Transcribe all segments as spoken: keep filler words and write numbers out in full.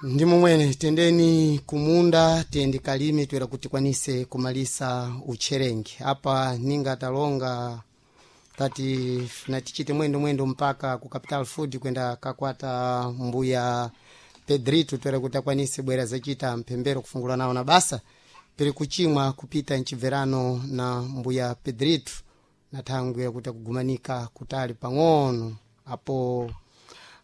Ndi mumwene tendeni kumunda tiyende kalime toera kuti tikwanise kumalisa utcherengi apa ninga talonga tati na tichite mwendo mwendo mpaka ku Capital Food kwenda kakwata mbuya Pedrito toera kuti akwanise bwera zacita mphembero kufungula nawo na basa piri kuchimwa kupita mchibverano na mbuya Pedrito na thangwi yakuti akugumanika kutali pang'ono apo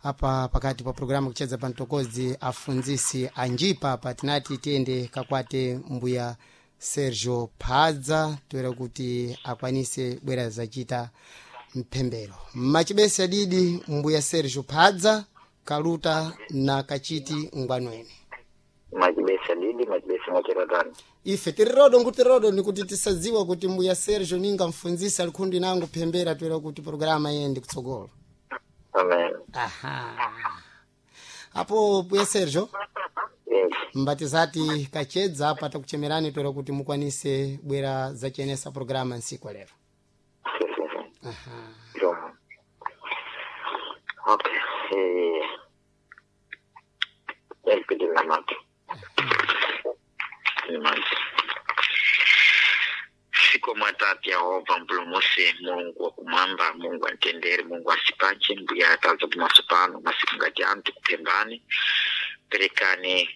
apa pakati pa programu kucheza pantokozi afunzisi anjipa apa tinati tiyende kakwate mbuya Sergio Phadza toera kuti akwanise bwera zacita mphembero machibesi adidi mbuya Sergio Phadza kaluta na kachiti ngwanweni. Machibesi adidi, machibesi mwacheratani. Ife tirirodo nkutirodo nikuti tisadziwa kuti mbuya Sergio ninga mfunzisi alikhundi nangu phembera toera kuti programa yende kutsogolo. Amen. Aha, apo mbuya Sergio Yes. mbatizati kachedza apa takuchemerani toera kuti mukwanise bwera zachenesa programa nsiku lero. Sim, sim, sim. Aha. Jomo. Okay. Eh. Elpidi namati. Namati. Siku mwatatu Yehova mpulumuse Mulungu wakumwamba, Mungu antendere, Mungu asipache mbuya ataza pamaso pano masiku ngati anu tikupembani perekani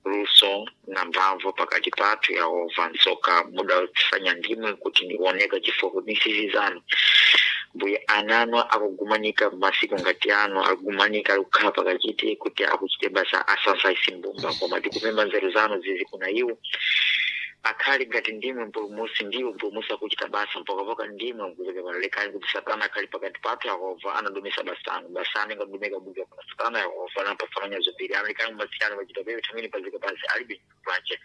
luso na mphamvu pakati pathu Yehova nsoka muda kusanya ndimwe kuti ndioneka chifukwa kuti nsizi zanu mbuya anano akugumanika masiku ngati ano akugumanika alikukhala pakachiti kuti akuchite basa asasaisi mbumba koma tikupemba nzeru zanu zizi kuna iwo akhali ngati ndimwe mpulumusi ndiwo mpulumusi akuchita basa mpakapoka ndimwe mkuzeka palekani kuti satana akhali pakati pathu Yehova anadomesa basanu basanu ingadumeka buka kuna satana Yehova anapafananya zopiri analekani kumasiyano pachita pepe thamini pazika pansi alibe pache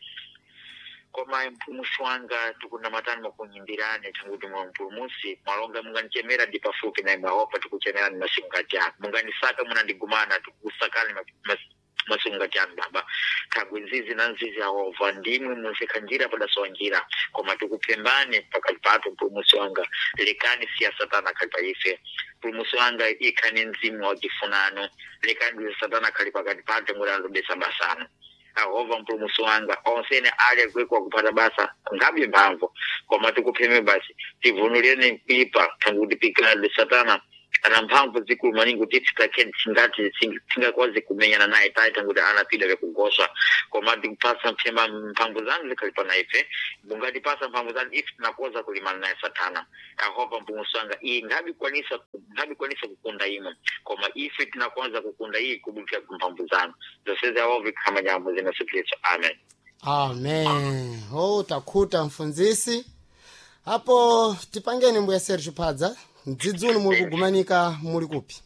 koma mpulumusi wanga tikunamatani makunyimbirani tanguti mwa mpulumusi mwalonga munganichemera ndi pafupi na imwe Yehova tikuchemerani masiku ngati ano munganisaka munandigumana tikusakani masiku ngati ano baba thagwe nzizi na nzizi Yehova ndimwe munsekha njira padasowa njira koma tikupembani pakati pathu mpulumusi wanga lekani siya satana akhali pa ife mpulumusi wanga ikhani mzimu wachifunano lekani satana akhali pakati pathu ngoti alobesa basano Yehova mpulumusi wanga onsene ali akwekwa kupata basa ngabe mphamvu koma tikupheme basi tivunulireni kuipa tanguti pikiradi satana ana mphamvu zikulu maningi kuti titake tingati tingakwazi kumenyana naye tayi tanguti anapida vyakugoswa koma tikupasa mphemba mphamvu zanu zikhali pana ife mungatipasa mphamvu zanu ife tinakoza kulimana naye satana Yehova mpulumusi wanga iyi ngabikwanisa ngabikwanisa kukunda imwe koma ife tinakonza kukunda iyi kubukira kumphamvu zanu zonsezi Yehova ikhama nyambo zina Yesu Kristu amen. Amen. Oh, takhuta mfunzisi apo tipangeni mbuya Sergio Phadza mdzidzi uno muli kugumanika muli kupi?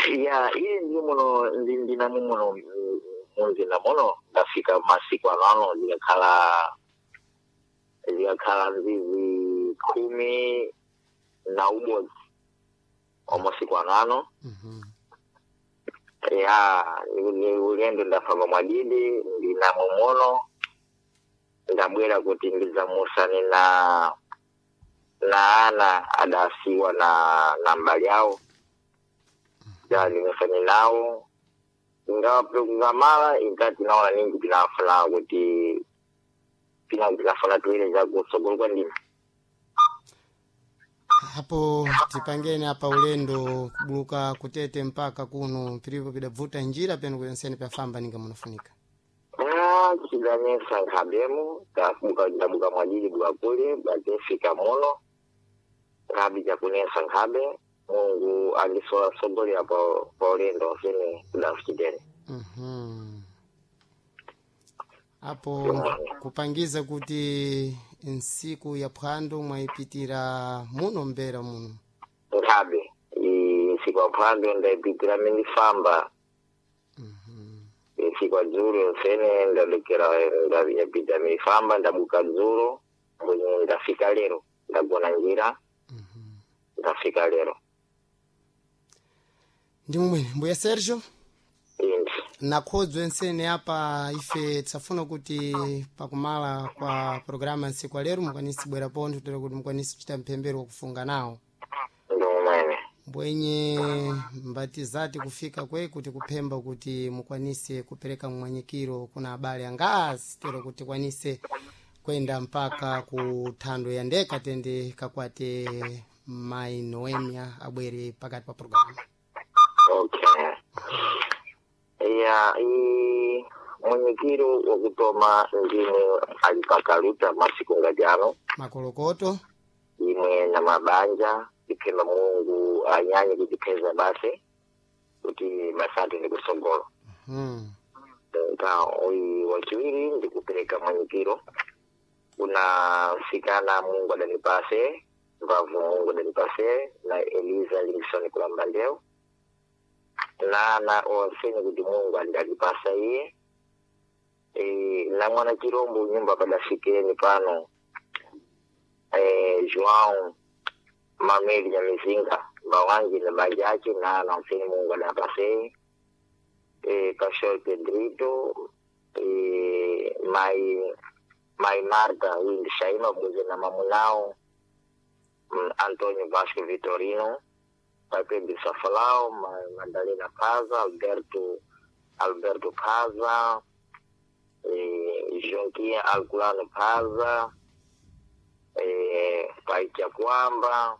Ya iye ndi muno ndi ndinamo muno munzinda muno ndafika masiku anano zikakhala zikakhala nzizi khumi na umodzi wa masiku anano. Mhm. Ya ni ulendo ndafamba mwadidi ndinamo muno ndabwera kuti ndidzamusane na na ana adasiwa na na mbali yawo ya ndimusane nawo ingawa ngamala inkati naona ningi tinafuna kuti pina tinafuna tuile zakutsogolo kwa ndima. Apo tipangeni apa ulendo kubuluka kutete mpaka kuno pilipo pidabvuta njira penu kuyonseni pyafamba ninga munafunika. Ah, chidanesa nkhabemo tabuka ndabuka mwadidi buka kule batefika muno nkhabe chakunesa nkhabe Mungu andisola sogolera pa pa ulendo onsene kudafuchitene. Mhm. Apo kupangiza kuti nsiku ya phwando mwayipitira muno mbera muno. Nkhabe nsiku ya phwando ndayipitira mindifamba. Mhm. Nsiku ya dzulo yonsene ndalekera ndapita mindifamba ndabuka dzulo mbwenye ndafika lero ndagona njira. Mhm. Ndafika lero. Ndi mumwene mbuya Sergio Indi nakhodzwe nsene apa ife tisafuna kuti pakumala kwa programa nsiku lero mukwanisi bwera pontho tera kuti mukwanisi kuchita mphembero wakufunga nawo. Ndi mumwene. Mbwenye mbatizati kufika kwe kuti kuphemba kuti mukwanise kupereka mmwanyikiro kuna abale angasi tero kuti tikwanise kwenda mpaka ku thando ya ndeka tende kakwate mai Noemia abwere pakati pa programu. Okay, ya i mwenyekiro wakutoma ndimwe alipakaluta masiku ngati ano Makolokoto. Imwe na mabanja tiphemba Mulungu anyanye kutipheza basi kuti basati ndi kusogolo. Hmm. Nka uyi wachiwiri ndikupereka mwanyikiro kuna msikana Mungu adanipase mbavu, Mungu adanipase na Eliza Livingstone kulamba ndeo na na onseni kuti Mungu andalipasa iye e, na mwana chirombo nyumba padafikireni pano e, João Mameli Nyamizinga mbawanji na banja ache na na onseni Mungu adapase eh, Pastor Pedrito, eh, mai mai Marta huyu ndi Shaima Buze na mamunao mm, Antonio Vasco Vitorino, pai Pedro Safalao, ma, Madalena Paza, Alberto Alberto Paza, eh, Jonquinha Alculano Paza, eh, pai Chakwamba,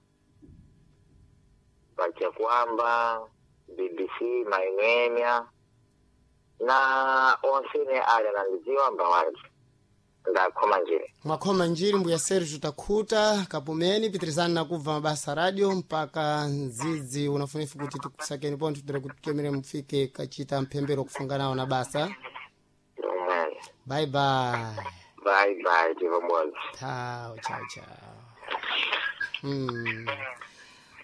pai Chakwamba, B B C Mainemia na onsene ali anandidziwa mbawanji ndakhoma njere. Mwakhoma njiri mbuya Sergio, takhuta kapumeni pitirizani nakubva mabasa radio mpaka ndzidzi unafunifu kuti tikusakeni pontho tira kuti tikemere mufike kachita mphembero kufunga nawo na basa. Omwe. Bye bye. Bye bye, tivomodzi. Tchau, tchau, tchau. Hmm.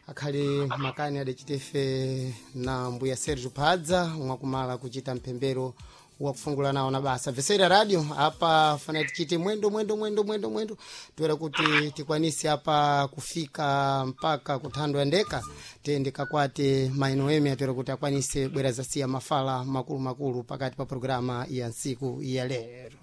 Akhali makani adachitefe na mbuya Sergio Phadza mwakumala kuchita mphembero wakufungula nawo na basa vesera radio apa fana tichite mwendo mwendo mwendo mwendo mwendo toera kuti tikwanise apa kufika mpaka kuthando ya ndeka tende kakwate mainoemi atoera kuti akwanise bwera zasiya mafala makulu makulu pakati pa programa ya ntsiku ya lero.